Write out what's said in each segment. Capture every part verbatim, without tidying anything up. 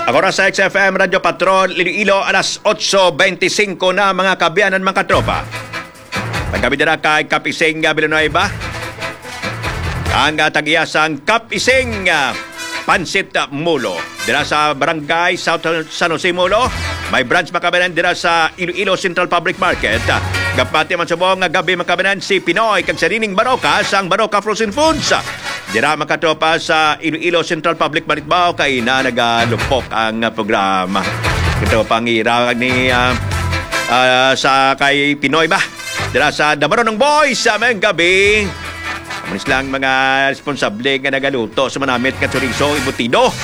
Ang oras sa X F M Radyo Patrol, Iloilo, alas otso bente singko na, mga kaabyanan, mga katropa. Pagkabit dira kay Kap Ising, ah, Villanueva. Ang, ah, tag-iya sang Kap Ising, ah, Pansit, ah, Molo. Dira sa Barangay South San Jose, Molo. May branch, mga kaabyanan, dira sa Iloilo Central Public Market. Ah, gapati man subong nga gab-i, mga kaabyanan, si Pinoy kag si Rining Baroka sang Baroka Frozen Foods. Dira, mga katropa, sa Iloilo Central Public Market, mao kay na nagalupok ang programa. Ito pangira ni, ah, ah, sa kay Pinoy ba? Dira sa Damaronong Boys sa mayong gabi. Amo ni sila ang mga responsable nga nagaluto sa manamit nga chorizo embutido,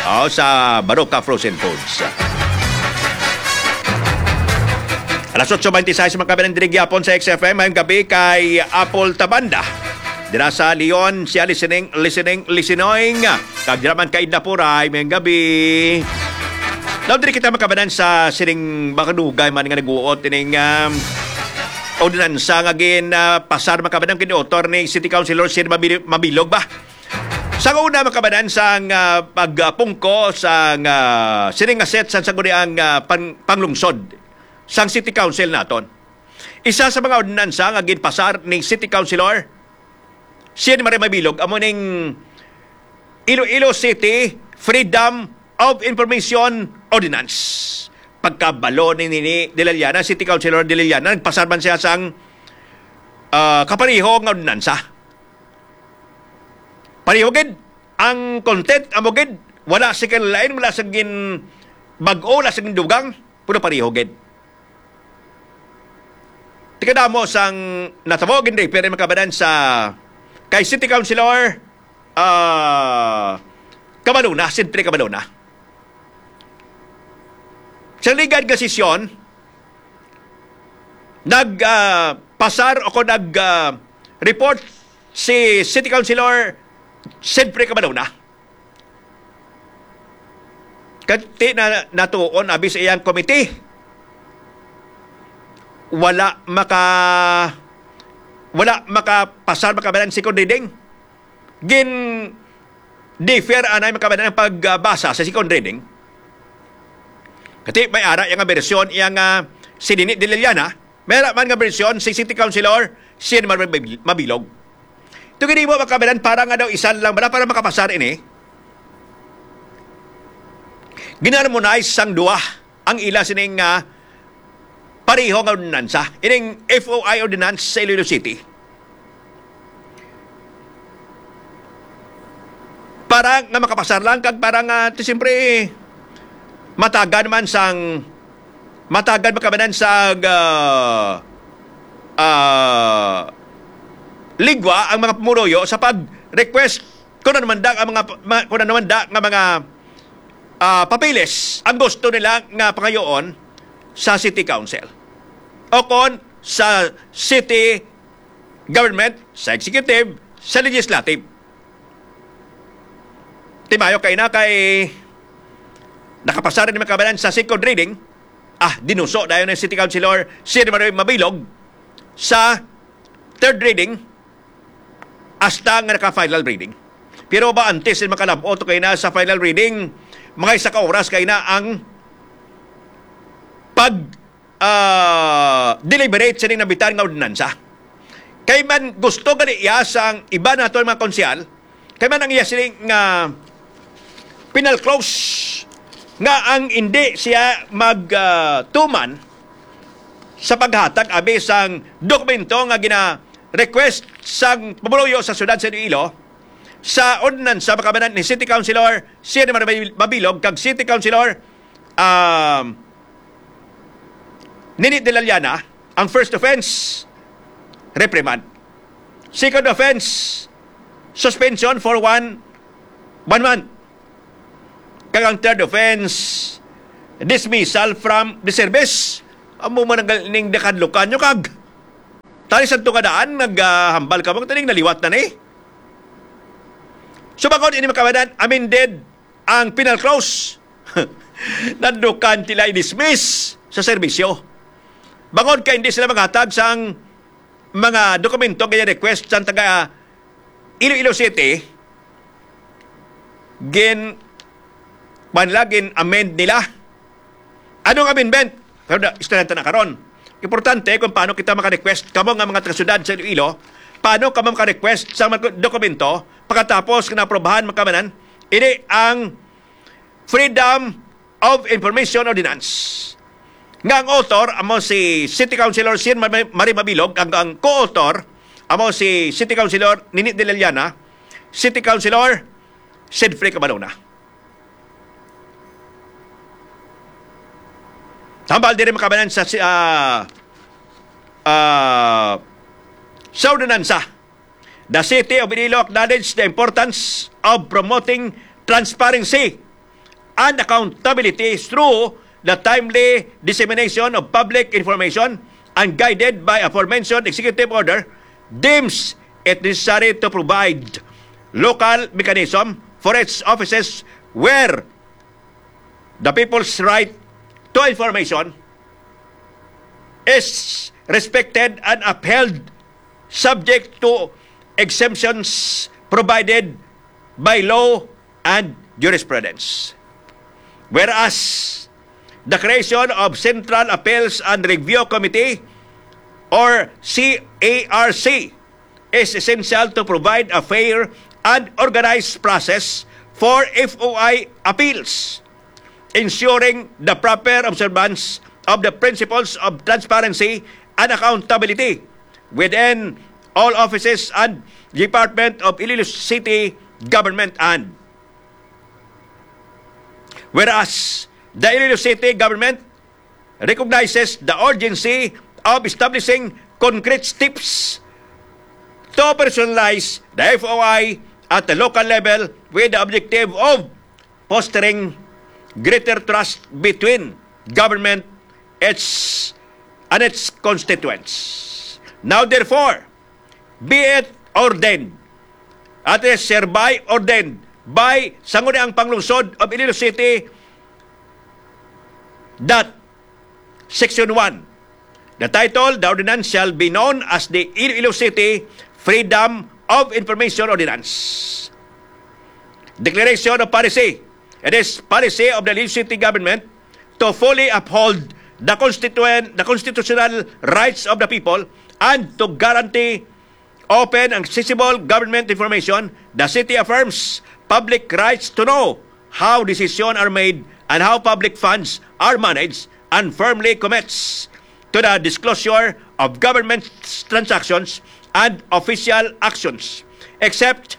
oh, sa Baroka Frozen Foods. Alas otso bente sais, mga kaabyanan, diri gyapon sa X F M. Mayong gabi kay Apple Tabanda. Dira sa Leon, siya listening, listening, listening. Kag dira man kay Dapuray, mayong gabi. Now, diri kita, mga kaabyanan, sa sining makadugay man nga naguot ining, um, ordinansa nga gin, ah, pasar, mga kaabyanan, gin-author ni City Councilor Sir Mabil-, Mabilog ba? Sa una, mga kaabyanan, sang, ah, pagpungko sang, ah, sining nga set sang sangguniang, ah, pan-, panglungsod sang City Council naton. Isa sa mga ordinansa nga ginpasar ni City Councilor Sir Maria Mabilog amo ning Iloilo City Freedom of Information Ordinance. Pagkabalo ni, ni, ni Dela Llana, City Councilor Dela Llana, nagpasar man siya sang, ah, kapareho nga ordinansa. Pareho gid ang content, amo gid, wala sa kinalain, wala sa gin bag-o, wala sa gindugang, puro pareho gid. Tikadamo sang natabo gid, pero, mga kaabyanan, sa kay City Councilor, ah, Cabaluna, Sidre Cabaluna. Sa ligad nga sesyon, nag, ah, pasar o kung nag, ah, report si City Councilor Sidre Cabaluna. Kati na natuon abi sa iyang committee, wala maka, wala makapasar, mga kaabyanan, second reading. Gin differ anay, mga kaabyanan, ang pagbasa sa second reading. Kati may ara iya nga bersyon iya nga si Nini Dela Llana, may ara man nga bersyon si City Councilor Sir Mabil-, Mabilog. Ito gid mo, mga kaabyanan, para nga daw isa lang bala para makapasar ini. Gin-harmonize sang duha ang ila sining nga pareho nga ordinansa, ining F O I ordinance sa Iloilo City. Para nga makapasar lang kag para nga, ti, siyempre, matagan man sang, matagan, mga kaabyanan, sa, ah, ah, ligwa ang mga pumuloyo sa pag-request kung ano man da ang mga, ma-, kung ano man da nga mga, ah, papeles ang gusto nila nga pangayoon sa City Council o kon sa city government, sa executive, sa legislative. Timayo kay na kay nakapasar ni, mga kaabyanan, sa second reading. Ah, dinuso dayon ni City Councilor Sir Mario Mabilog sa third reading hasta nga naka-final reading. Pero ba, antes din makalabot kay na sa final reading, mga isa ka oras kay na ang pag, ah, deliberate sa ning nabitan nga ordinansa. Kay man gusto gali iya sang iba nato mga konsehal, kay man ang iya sini nga penal clause nga ang hindi siya mag, ah, tuman sa paghatag abi sang dokumento nga gina-request sang pumuluyo sa siyudad sa Iloilo sa ordinansa, mga kaabyanan, ni City Councilor Sir Mabil-, Mabilog kag City Councilor, um, Nini Dela Llana. Ang first offense, reprimand. Second offense, suspension for one, one month. Kag ang third offense, dismissal from the service. Amo man ang ning nakadlukan nyo kag. Tali sa tunga daan, naghambal ka mo, tining naliwat na ni. So, bangod ini, mga kaabyanan, amended ang penal clause. Nadlukan sila i-dismiss sa serbisyo. Bangod kay hindi sila maghatag sang mga dokumento nga request sang taga Iloilo City, gin man lagi amend nila. Anong amendment? Pero da, istorya ta na karon. Importante kung paano kita maka-request, kamo nga mga taga-syudad sa Iloilo, paano kamo maka-request sa mga dokumento pagkatapos nga naprobahan, mga kabanan, ini ang Freedom of Information Ordinance. Nga ang author amo si City Councilor Sin Mar-, Mari Mabilog, ang, ang co-author amo si City Councilor Nini de la Llana, City Councilor Sidfrey Cabalona. Tambal diri, mga kabanan, sa si-, ah, ah, sa ordinansa. The City of Iloilo acknowledge the importance of promoting transparency and accountability through the timely dissemination of public information and, guided by aforementioned executive order, deems it necessary to provide local mechanism for its offices where the people's right to information is respected and upheld, subject to exemptions provided by law and jurisprudence. Whereas the creation of Central Appeals and Review Committee, or C A R C, is essential to provide a fair and organized process for F O I appeals, ensuring the proper observance of the principles of transparency and accountability within all offices and department of Iloilo City government. And whereas the Iloilo City government recognizes the urgency of establishing concrete steps to operationalize the F O I at the local level, with the objective of fostering greater trust between government, its, and its constituents. Now, therefore, be it ordained, at is hereby ordained by Sangguniang Panglungsod of Iloilo City, that Section one, the title, the ordinance shall be known as the Iloilo City Freedom of Information Ordinance. Declaration of policy. It is policy of the Iloilo City government to fully uphold the constituent, the constitutional rights of the people and to guarantee open and accessible government information. The city affirms public rights to know how decisions are made and how public funds are managed, and firmly commits to the disclosure of government transactions and official actions, except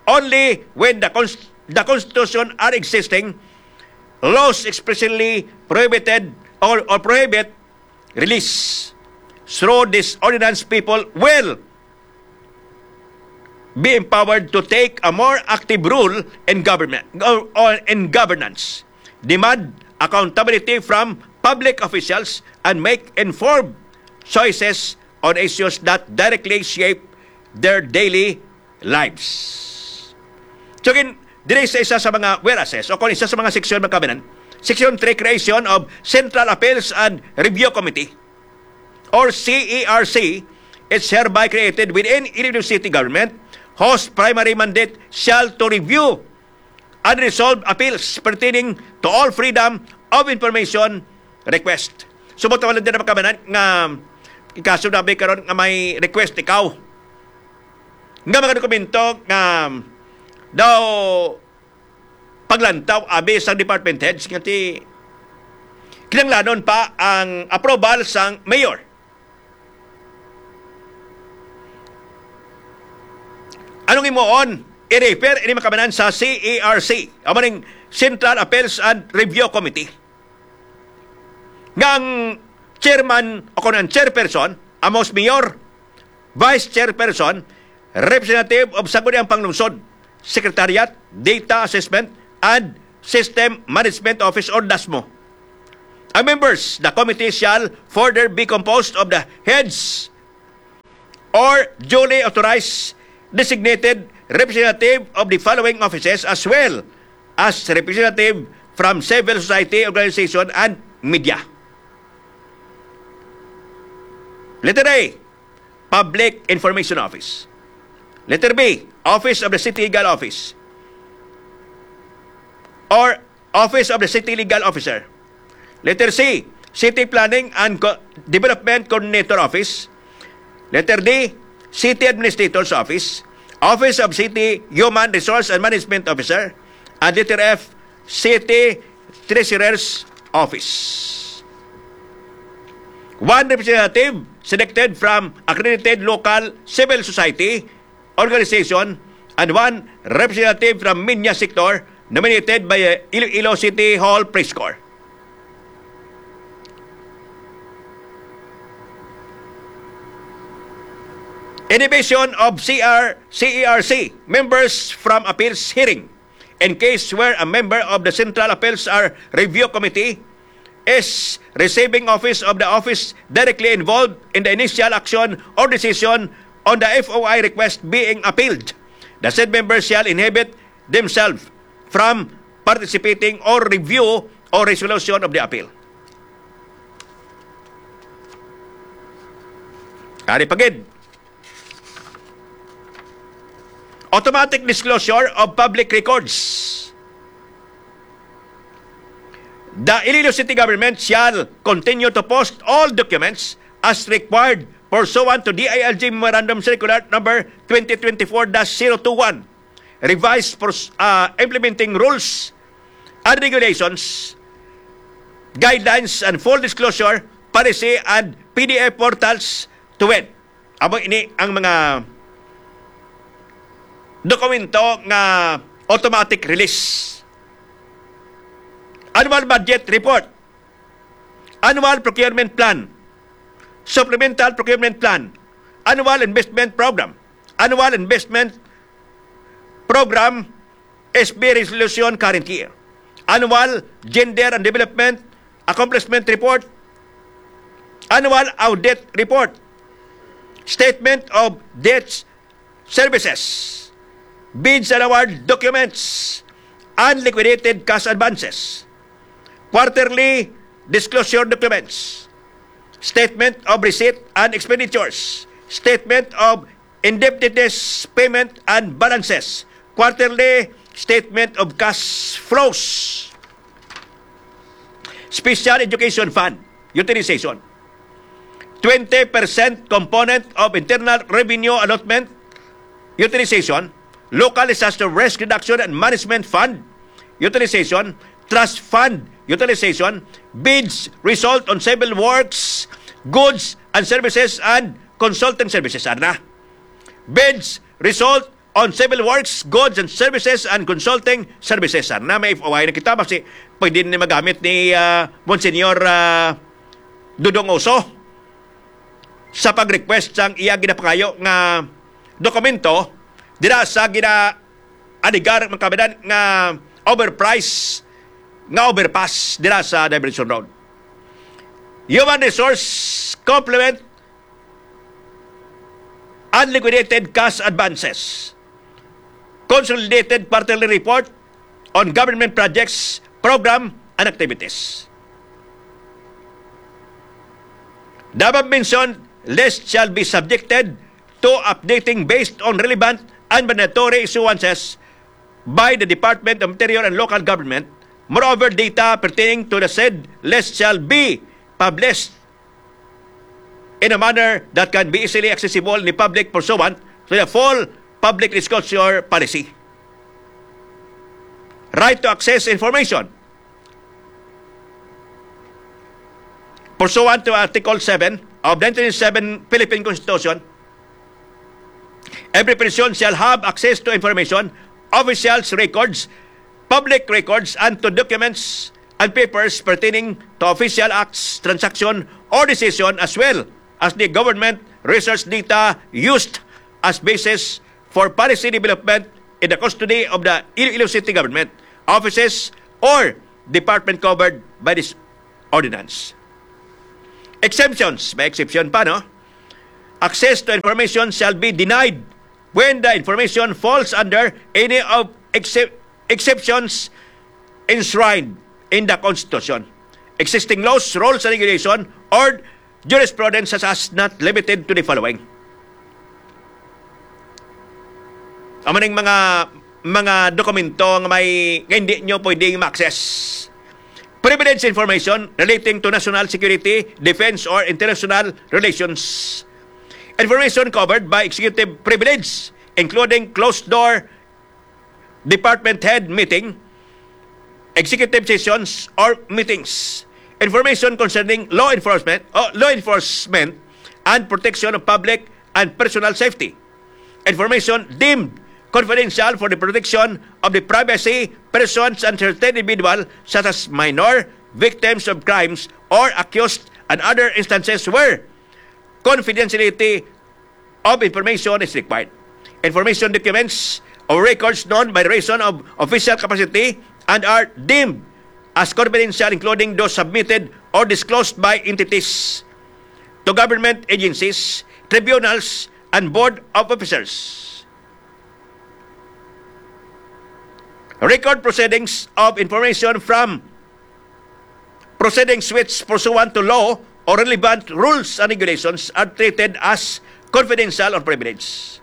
only when the cons-, the Constitution are existing, laws expressly prohibited or, or prohibit release. Through this ordinance, people will be empowered to take a more active role in government or, or in governance, demand accountability from public officials, and make informed choices on issues that directly shape their daily lives. So, gin-, diri sa isa sa mga whereases, o kung isa sa mga seksyon, mga kabanan, Section three, creation of Central Appeals and Review Committee, or C A R C, is hereby created within Iloilo City Government, whose primary mandate shall to review and resolve appeals pertaining to all freedom of information request. So, mo tawag din, mga kabanan, nga ikaso na ba karon nga may request ikaw nga mga dokumento nga daw paglantaw abi sang department heads nga ti kinahanglanon pa ang approval sang mayor. Anong imuon? I-refer ini, mga kabanan, sa C A R C, amo ning Central Appeals and Review Committee, nga ang chairman o kung ang chairperson, amo si mayor, vice chairperson, representative of Sangguniang Panglungsod, Secretariat, Data Assessment, and System Management Office, or dasmo. Ang members, the committee shall further be composed of the heads or duly authorized designated representative of the following offices, as well as representative from civil society organization and media. Letter A, Public Information Office. Letter B, Office of the City Legal Office, or Office of the City Legal Officer. Letter C, City Planning and Co-, Development Coordinator Office. Letter D, City Administrator's Office, Office of City Human Resource and Management Officer, and letter F, City Treasurer's Office. One representative selected from accredited local civil society organization, and one representative from media sector nominated by, uh, Iloilo City Hall Press Corps. Inhibition of C R, C E R C members from appeals hearing in case where a member of the Central Appeals are Review Committee is receiving office of the office directly involved in the initial action or decision on the F O I request being appealed. The said member shall inhibit themselves from participating or review or resolution of the appeal. Ari pa gid. Automatic disclosure of public records. The Iloilo City Government shall continue to post all documents as required pursuant to D I L G Memorandum Circular Number twenty twenty-four dash zero two one, revised pers-, uh, implementing rules and regulations, guidelines and full disclosure policy and P D F portals to wit. Amo ini ang mga dokumento nga automatic release. Annual budget report, annual procurement plan, supplemental procurement plan, annual investment program, annual investment program, S B resolution current year, annual gender and development accomplishment report, annual audit report, statement of debts, services, bids and award documents, unliquidated cash advances, quarterly disclosure documents, statement of receipt and expenditures, statement of indebtedness, payment and balances, quarterly statement of cash flows, special education fund utilization, twenty percent component of internal revenue allotment utilization, local disaster risk reduction and management fund utilization, trust fund utilization, bids result on civil works, goods and services, and consulting services. Ana, bids result on civil works, goods and services, and consulting services. Ana, may F O I na kita, basi pwede ni magamit ni, ah, Monsignor, ah, Dodong Oso sa pag-request sang iya ginapangayo nga dokumento dira sa gina-alegar, mga kababayan, nga overprice nga overpass dira sa Diversion Road. Human Resource Complement, unliquidated cash advances, consolidated quarterly report on government projects, program, and activities. The above mentioned list shall be subjected to updating based on relevant and mandatory issuances by the Department of Interior and Local Government. Moreover, data pertaining to the said list shall be published in a manner that can be easily accessible in the public pursuant to the full public disclosure policy. Right to access information. Pursuant to Article seven of nineteen seven Philippine Constitution, every person shall have access to information, officials' records, public records, and to documents and papers pertaining to official acts, transaction, or decision, as well as the government research data used as basis for policy development in the custody of the Iloilo City Government offices or department covered by this ordinance. Exemptions, may exception pa, no? Access to information shall be denied when the information falls under any of excep-, exceptions enshrined in the Constitution, existing laws, rules, and regulation, or jurisprudence such as not limited to the following. Amo ning mga mga dokumento nga may, nga hindi nyo pwedeng ma-access. Privileged information relating to national security, defense, or international relations. Information covered by executive privilege, including closed-door department head meeting, executive sessions, or meetings. Information concerning law enforcement, uh, law enforcement and protection of public and personal safety. Information deemed confidential for the protection of the privacy, persons, and certain individual, such as minor, victims of crimes, or accused, and other instances where confidentiality of information is required. Information, documents, or records known by reason of official capacity and are deemed as confidential, including those submitted or disclosed by entities to government agencies, tribunals, and board of officers. Record proceedings of information from proceedings which, pursuant to law or relevant rules and regulations, are treated as confidential or privileged.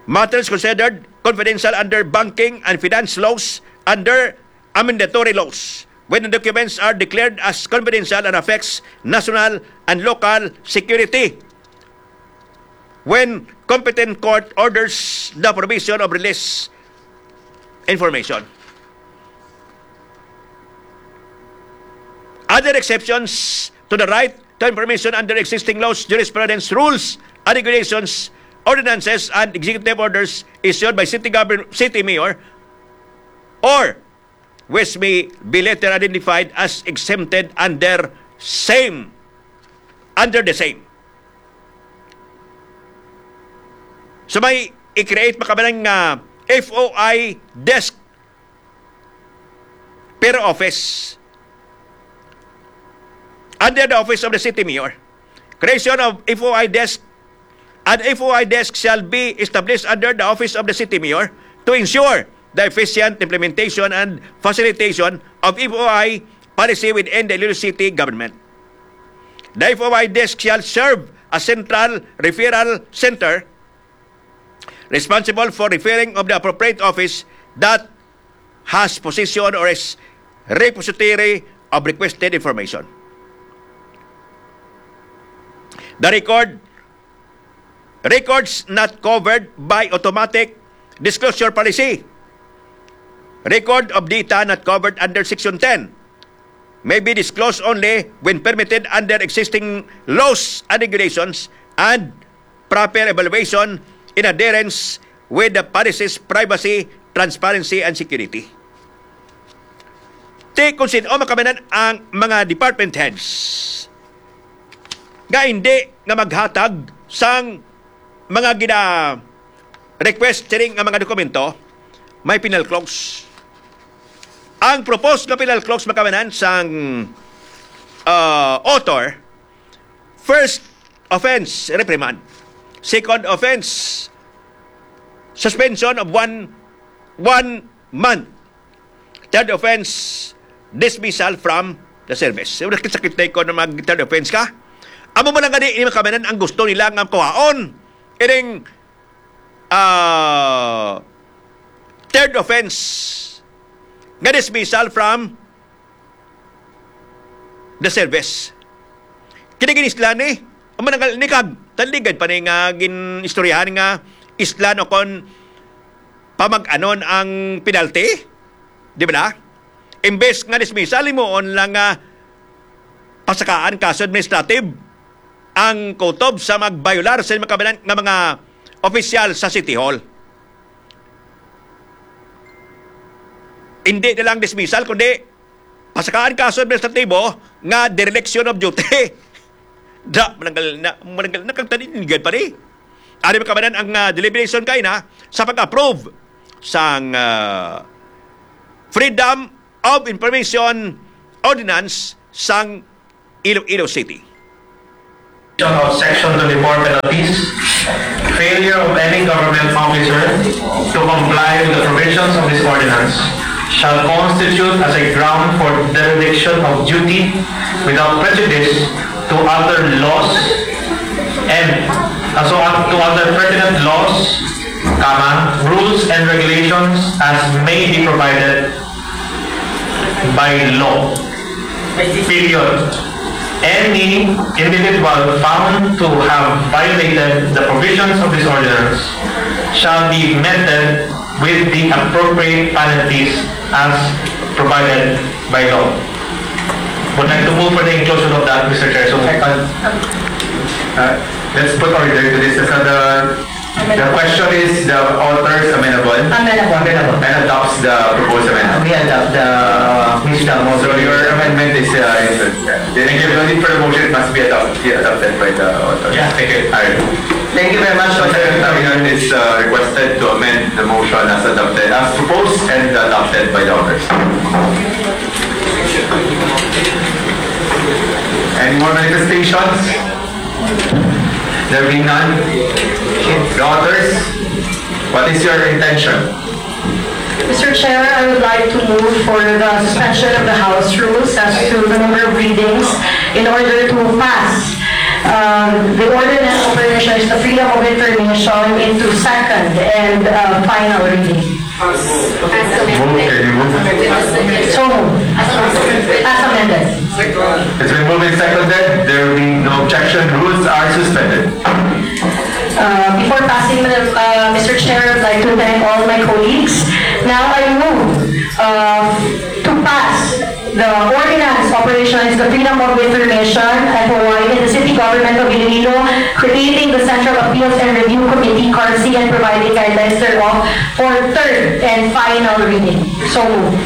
Matters considered confidential under banking and finance laws, under amendatory laws, when the documents are declared as confidential and affects national and local security, when competent court orders the provision of release information. Other exceptions to the right to information under existing laws, jurisprudence, rules, and regulations, ordinances, and executive orders issued by city govern-, city mayor, or which may be later identified as exempted under same, under the same. So, may i-create pa kami ng, ah, F O I desk per office under the office of the city mayor. Creation of F O I desk. An F O I desk shall be established under the office of the city mayor to ensure the efficient implementation and facilitation of F O I policy within the Iloilo City government. The F O I desk shall serve as central referral center responsible for referring of the appropriate office that has possession or is repository of requested information. The record, records not covered by automatic disclosure policy. Record of data not covered under Section ten may be disclosed only when permitted under existing laws and regulations and proper evaluation in adherence with the policies privacy, transparency, and security. Ti kung sin-o man kami nan ang mga department heads nga hindi nga maghatag sang mga gina-request sining nga mga dokumento, may penal clause. Ang proposed nga penal clause, mga kamanan, sang, ah, author, first offense, reprimand. Second offense, suspension of one, one month. Third offense, dismissal from the service. So, nakit-sakit na ko na mag-third offense ka. Amo man lang gani, mga kamanan, ang gusto nila nga kuhaon. Ining, ah, third offense nga dismissal from the service. Kini ginislan ni, ang mananggal ni kag, taligad pa ni nga gin-istoryahan nga islan o kon pamag-anon ang penalty. Di ba na? Imbes nga dismissal, himuon lang nga pasakaan kaso administrative ang kutob sa magbayular sa mga kabanan nga mga opisyal sa City Hall. Hindi na lang dismissal, kundi pasakaan kaso administratibo nga dereliction of duty. Da, mananggal na, mananggal na kag taninigad pa ni. Ari makabanan ang, ah, deliberation kay na sa pag-approve sang, ah, Freedom of Information Ordinance sang Iloilo City. Of Section twenty-four penalties, failure of any government officer to comply with the provisions of this ordinance shall constitute as a ground for dereliction of duty without prejudice to other laws and, uh, so, uh, to other pertinent laws comma, rules and regulations as may be provided by law. Period. Any individual found to have violated the provisions of this ordinance shall be meted with the appropriate penalties as provided by law. Would like to move for the inclusion of that, Mister Chair. So, second. Uh, let's put order to this. As the, the question is the author's amenable. Amenable. And adopts the proposed amendment. We adopt the, uh, Mister So your amendment is, uh, is, uh, the, the, the, for the motion, it must be adopted, be adopted by the author. Yeah, thank you. All right. Thank you very much, So, Mister Secretary is, uh, requested to amend the motion as adopted, as proposed and adopted by the authors. Any more manifestations? There being none, the authors, what is your intention? Mister Chair, I would like to move for the suspension of the House rules as to the number of readings in order to pass, um, the ordinance of permission of the freedom of information into second and, uh, final reading. Move, can you move? So moved. As amended. It's been moved and seconded. There will be no objection. Rules are suspended. Uh, before passing, Madam, uh, Mister Chair, I'd like to thank all my colleagues. Now I move, uh, to pass the ordinance operations, the freedom of information, F O I, in the city government of Iloilo, creating the Central Appeals and Review Committee, CARC, and providing guidelines thereof for third and final reading. So moved.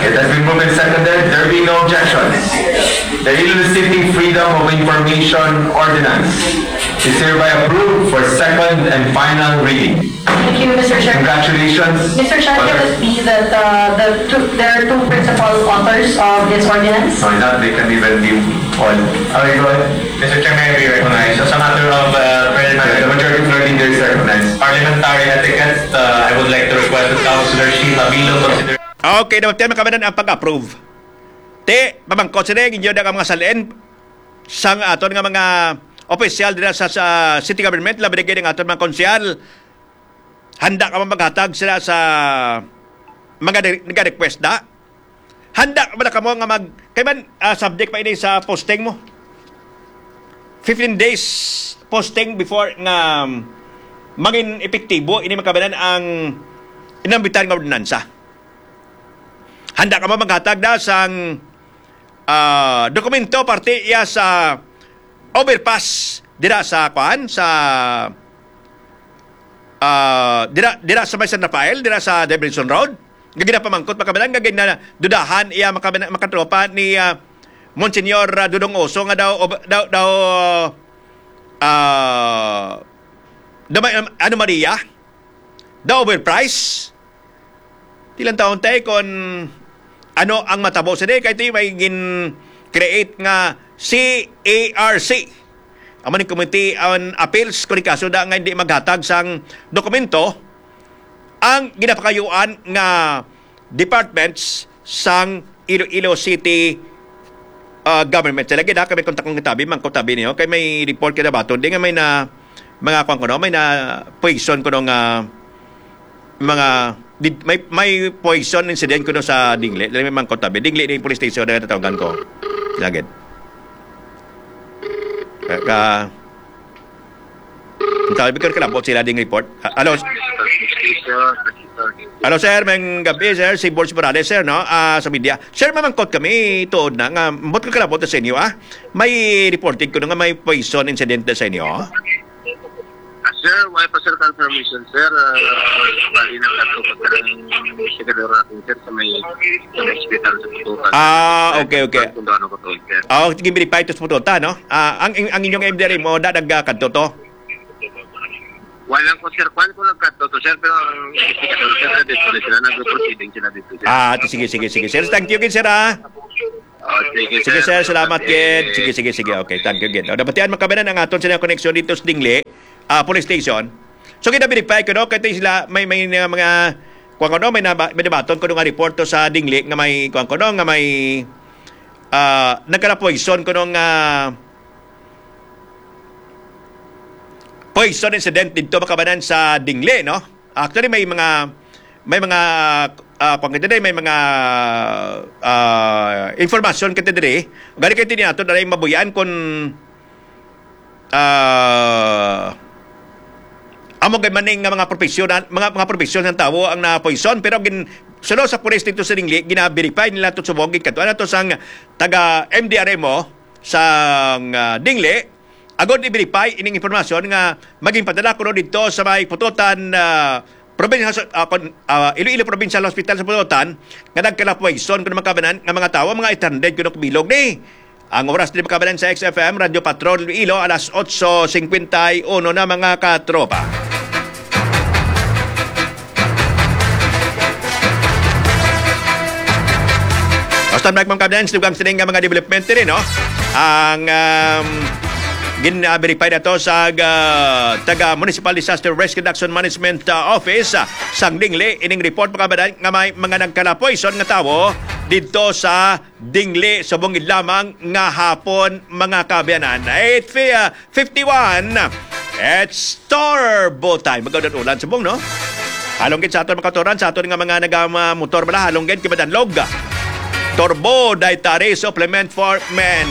It has been moved and seconded. There be no objections. The Iloilo City Freedom of Information Ordinance is hereby approved for second and final reading. Thank you, Mister Chair. Congratulations. Mister Chair, can it be that, uh, the two, there are two principal authors of this ordinance? No, not, they can even be all. Okay, go ahead. Mister Chair, may I be recognized? As a matter of, uh, Yeah, the parliamentary, majority of the leaders recognized. Parliamentary etiquette, uh, I would like to request that Councilor Sheila Bilo consider Okay, dapat tayo makabanan ang pag-approve. Te, pamangkot sila yung inyo na mga salin sang aton nga mga opisyal dira sa, sa city government, labi na gid ang aton mga konsyal. Handa ka ba maghatag sila sa mga di-, nag-request na? Handa ka ba na kamo nga mag-, kay man, ah, subject pa ini sa posting mo? Fifteen days posting before nga, um, mangin epektibo ini makabanan ang inambitan nga ordinansa. Handa ka ba maghatag na sang, ah, dokumento parte iya sa overpass dira sa, kuan, sa, ah, dira, dira sa may San Rafael, dira sa Davidson Road? Nga ginapamangkot, makabanan, nga ginadudahan iya, makabanan, makatropa ni, ah, Monsignor, ah, Dodong Oso nga daw, ob-, daw, daw, ah, daw may, um, ano, Maria? Daw overprice? Di lang taon, te, kung ano ang matabo sini, kay ti may gin-create nga C A R C. Amo ni Committee on Appeals, kung kaso da nga hindi maghatag sang dokumento ang ginapakayuan nga departments sang Iloilo City, ah, government. Sa lagi na kami kontak ng tabi, mangko tabi niyo. Kay may report ka na ba? Hindi nga may na, mga kwan ko, no? May na poison ko nung, ah, mga, di, may, may poison incident ko, no, sa Dingle. Dali, may mangko tabi. Dingle na yung police station na natawagan ko. Lagi. Ka, ka, ang tawag ko, kalabot sila ding report. Ah, hello? Hello, sir. May gabi, sir. Si Borge Morales, sir, no? Ah, sa media. Sir, mamangkot kami, tuod na nga, ambot ko kalabot sa inyo, ah. May reported ko nga may poison incident na sa inyo. Ah, sir, wala pa, sir, confirmation, sir. Ah, bali na kato pa, sir, ang secretary natin, sir, sa may, sa may hospital sa Pututan. Ah, okay, okay. Kung ano ko to, sir. Ah, sige, verify to sa Pututan, no? Ah, ang, ang inyong M D R mo, da, nagkadto to? Walang ko, sir. Kwan ko nagkadto to, sir, pero ang investigador, sir, dito na sila, nag-proceeding sila dito, sir. Ah, sige, sige, sige, sir. Thank you, sir, ah. Oh, sige, Sige, sir. sir. Salamat, Salamat, gid. Sige, sige, sige. Okay, thank you, gid. O, nabatian, makabanan ang aton sila connection dito sa Dingle, ah, police station. So, kita-verify ko, no? Kaya sila, may, may, uh, mga, kuwan ko, no? May naba-, may nabaton ko nga report to sa Dingle nga may, kuwan ko, no? Nga may, ah, nagkalapoison ko nung, ah, poison incident dito, mga kababayan, sa Dingle, no? Actually, may mga, may mga, ah, kung kita may mga, ah, information kita diri. Gani kay tini ato na mabuyan kung, ah, amo gid man nga mga profesyon, mga, mga profesyon ng tawo ang napoison, pero gin, suno sa pulis dito sa Dingle, gina-verify nila to subong, gid kadto na to sang taga M D R M O sang, ah, Dingle, agod i-verify ining impormasyon nga maging padala kuno dito sa may Pototan, ah, Provincial, ah, kon-, ah, Iloilo Provincial Hospital sa Pototan nga nagkalapuwayson kuno, mga kababayan, nga mga tawo, mga eight hundred kuno kabilog ni. Ang oras din, mga kababayan, sa X F M Radyo Patrol Iloilo, alas otso cincuenta y uno na, mga katropa. Basta, mga kababayan, dugang sining nga mga development rin, no? Ang, um, gin-verify na to sa, ah, taga Municipal Disaster Risk Reduction Management, ah, Office, ah, sang Dingle, ining report, mga kababayan, nga may mga nagkalapoy nga tawo dito sa Dingle subong lamang nga hapon, mga kababayan. Eight fi-, ah, fifty-one. It's Turbo Time. Magandang ulan subong, no? Halong gid sa aton mga katuran, sa aton nga mga nagamotor bala, halong gid kay madanlog. Turbo Dietary Supplement for Men.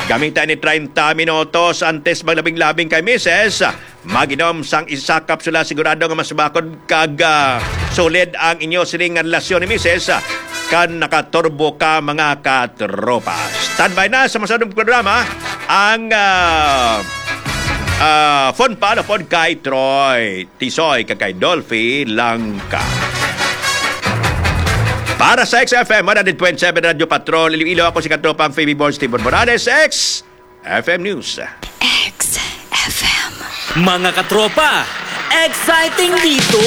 Gamita ni treinta minutos antes maglabing-labing kay misis. Mag-inom sang isa kapsula, sigurado nga mas bakod kag, ah, solid ang inyo sining nga relasyon ni misis, ah, kan nakaturbo ka, mga katropa. Standby na sa masunod nga programa ang, ah, ah, Fun Pal upod kay Troy Tisoy kag kay Dolphy Langka. Para sa X F M one hundred point seven Radyo Patrol Iloilo, ako si katropang Phoebe Born, Steven Morales, X F M News. X F M. Mga katropa, exciting dito!